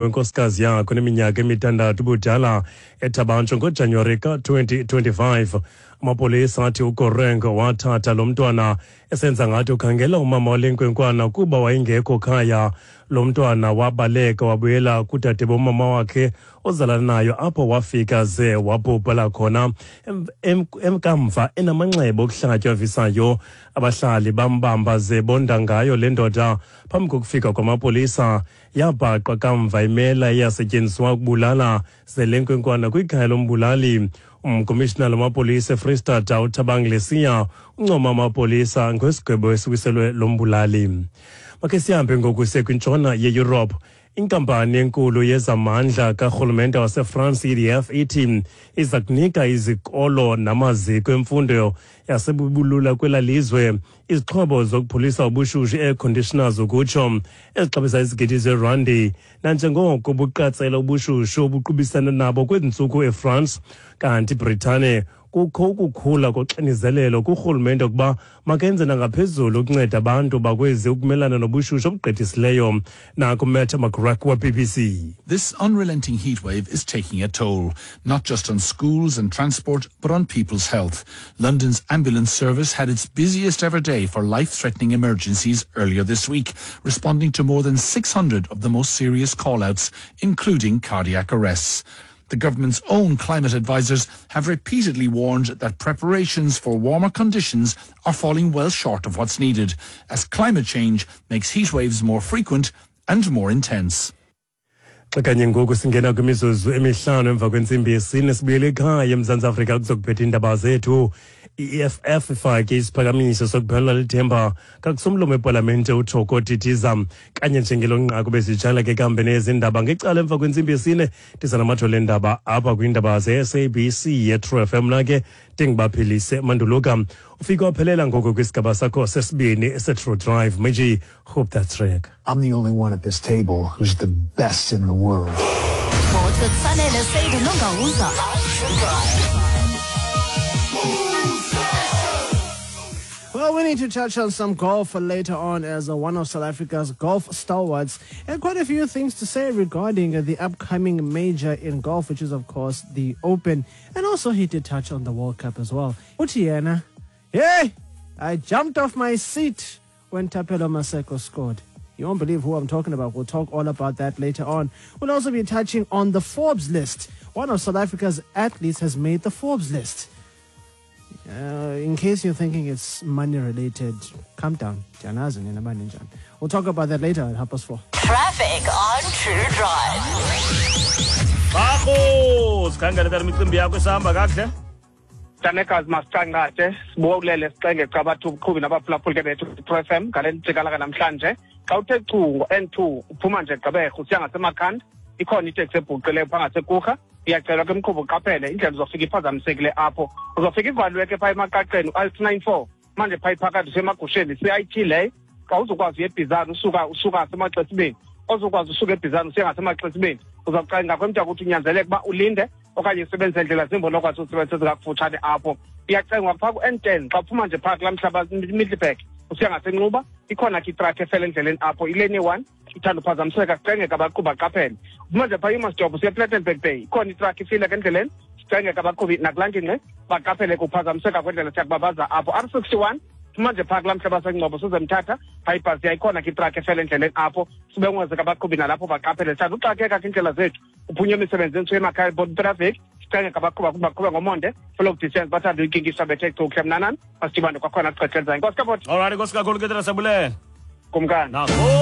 Wenkosikazi yakhe oneminyaka emithandathu ubudala eThabantsho ngoJanuwari ka-2025. Amapolisa athi uGoreng wathatha lo mntwana esenza ngathi ukhangela umama wale nkwenkwana kuba wayengekho khaya. Lo mntwana wabaleka wabuyela kudade bomama wakhe ozalana nayo, apho wafika ze wabhubhela khona kamva enamanxeba okuhlatywa avisayo. Abahlali bambamba ze bonda ngayo le ndoda phambi kokufika kwamapolisa. Yabhaqwa kamva imela eyasetyenziswa ukubulala ze le nkwenkwana kwikhaya lombulali. Umkomishinala wamapolisa eFreystata uThabang Lesia uncoma amapolisa ngesigwebo esiwiselwe lombulali. Makhe sihambe ngoku siye kwintshona yeYurophu. Inkampani enkulu yezamandla karhulumente waseFrance, EDF, ithi iza kunika izikolo namaziko emfundo yasebubulula kwela lizwe izixhobo zokupholisa ubushushu, air conditioners ukutsho, ezixabisa izigidi zerandi, nanjengoko buqatsela ubushushu obuqubisana nabo kwezi ntsuku eFrance. Kanti iBritane, kukho ukukhula koxinizelelo kurhulumente ukuba makenze nangaphezulu ukunceda abantu bakwezi ukumelana nobushushu obugqithisileyo. Naku Matt McGrack we-BBC. This unrelenting heatwave is taking a toll, not just on schools and transport, but on people's health. London's ambulance service had its busiest ever day for life-threatening emergencies earlier this week, responding to more than 600 of the most serious call-outs, including cardiac arrests. The government's own climate advisors have repeatedly warned that preparations for warmer conditions are falling well short of what's needed, as climate change makes heatwaves more frequent and more intense. Xa kanye ngoku singena kwimizuzu 5 emva kwentsimbi yesine, sibuyele ekhaya eMzantsi Afrika kuzokuphetha iindaba zethu. I-EFF ifake isiphakamiso sokuphelelwa lithemba kakusomlomo wepalamente uThoko Didiza. Kanye njengelo nqaku besitshala ke kambe nezindaba ngecala emva kwentsimbi yesine, ndiza namathole endaba apha kwiindaba ze-SABC ye-True FM. Mna ke ndingubaphilise Manduluka. Ufike waphelela ngoko kwisigaba sakho sesibini se-True Drive. Meji, hope that's track. I'm the only one at this table who's the best in the world. Sports with Sanele Sedu Nongauza. Well, we need to touch on some golf later on, as one of South Africa's golf stalwarts and quite a few things to say regarding the upcoming major in golf, which is, of course, the Open. And also he did touch on the World Cup as well. Uthi yena, "Hey, I jumped off my seat when Thapelo Maseko scored." You won't believe who I'm talking about. We'll talk all about that later on. We'll also be touching on the Forbes list. One of South Africa's athletes has made the Forbes list. In case you're thinking it's money related, calm down. We'll talk about that later at 4:30. Traffic on True Drive. Bakho, sikhangele tata imicimbi yakho isihamba kakuhle. Tanekazi, masicanqate sibulele sicenge cabathu ubuqhubi nabaphulaphuli ke bethu True FM ngale ntsikalaka namhlanje. Xa uthe chu ngo-N2 uphuma nje Gqeberha usiya ngaseMakhanda, ikhona iteksi ebhuqileyo phaa ngaseKurha. Iyacelwa ke mqhubi uqaphele indlela, uzofika iphazamisekile apho. Uzofika ivaliwe ke phaa emaqaqeni u-L294 manje phaa iphakathi usemagusheni, CIT leyo. Xa uzokwazi uya eBhizana usuka ngasemaXesibeni, ozokwazi usuka eBhizana usiya ngasemaXesibeni, uzawuqala ngakwemntaka ukuthi unyanzeleke uba ulinde okanye usebenzise ndlela zimbi onokwazi usebenzisa ezingakufutshane apho. Iyacengwa phaa ku-N10 xa uphuma nje phaa kulaa mhlaba Middelburg usiya ngaseNxuba, ikhona ke itrakhi efele endleleni apho, ilane 1 ithanda uphazamiseka, kucengeka abaqhubi baqaphele. Uphuma nje phaa eMastop usiya ePlettenberg Bay, ikhona itrakhi ifile ke endleleni, sicengeka abaqhubi nakulaa ngingqi baqaphele kuphazamiseka kwendlela, siyakubabaza apho. R61 phuma nje phaa kulaa mhlaba seNgcobo size Mthatha, phaa ibhasi yayikhona ke itrakhi efele endleleni apho, sibengwezeka abaqhubi nalapho baqaphele. Sithanda uxakeka ke iindlela zethu, uphunywe emisebenzini suye emakhaya traffic, sicengeka abaqhuba baqhube ngomonde, follow distance, bathanda uyikinkisha bethe chuhle. Mnanani, masidibane kwakhona kuxesha elizayo. Nkosi kaboti. Alright, nkosi kakhulu ke tata, siyabulela. Kumkani. Nakho.